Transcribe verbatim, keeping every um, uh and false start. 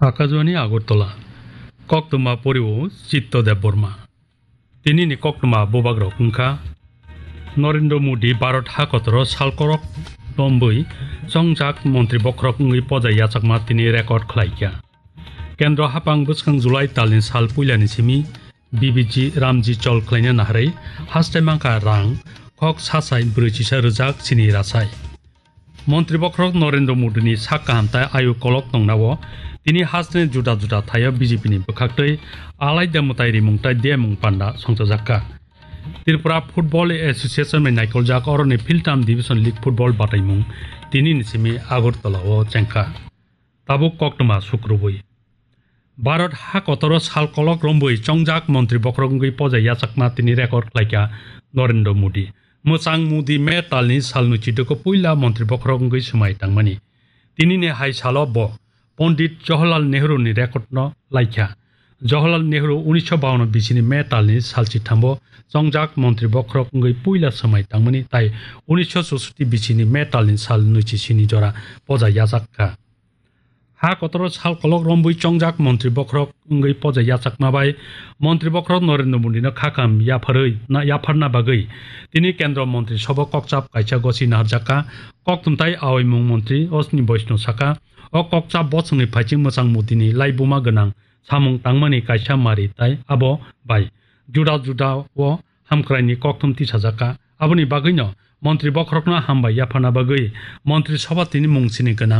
Akajwani Agartala, koktwma poriwo Chitto Debbarma. Tinini koktwma bubagrok wngkha: Narendra Modi Bharat ha kotoro sal kolok lombwi chongjak montri bokhorok wngwi poja yachakma tini record khlaikha. Kendro hapang bwskang July talni sal puilani simi B B G Ramji chol khlaina naharwi haste mankha rang khok sasai brwichisa rwjak chini rasai. Montri bokhorok Narendra Modini sak kaham tai ayu kolok tongnao tini hasteni juda juda thaio B J P ni bwkhaktwi alaida mwtai rimung tai demung panda songchajakka. Tripura Football Association bai naikoljak oroni Philtam Division League Football bataimung tinini simi Agartala o chengkha. Tabuk koktwma sukrubwi. Bharat ha kotoro sal kolok rombwi chongjak montri bokhorok wngwi poja yachakma tini record khlaikha Narendra Modi. Mwchang Modi May talni salni chidoko puila montri bokhorok wngwi swmai tangmani. Tinini hai salo bo Pondit Jawaharlal Nehru ni record no laikha. Jawaharlal Nehru unisho bawanno bisini May talni sal chithambo chongjak montri bokhorok wngwi puila swmai tangmani tai unisho chusoti bisini May talni sal nwichi sini jora poja yachak kha. Ha kotoro sal kolok rombwi chongjak montri bokhorok wngwi poja yachakma bai montri bokhorok Narendra Modi no khakam yapharwi na yapharna bagwi tini kendro montri sobo kokchap kaisa gosi naharjakha. Kokthumtai aoimung montri Ashwini Vaishnaw saka, o kokchap bosongni phaiching mwchang Modini laibuma gwnang samung tangmani kaisa mari tai abo bai juda juda o hamkraini kokthum tisajakha. Aboni bagwino montri bokhorokno hambai yapharna bagwi montri soba tini mung sini gwnang.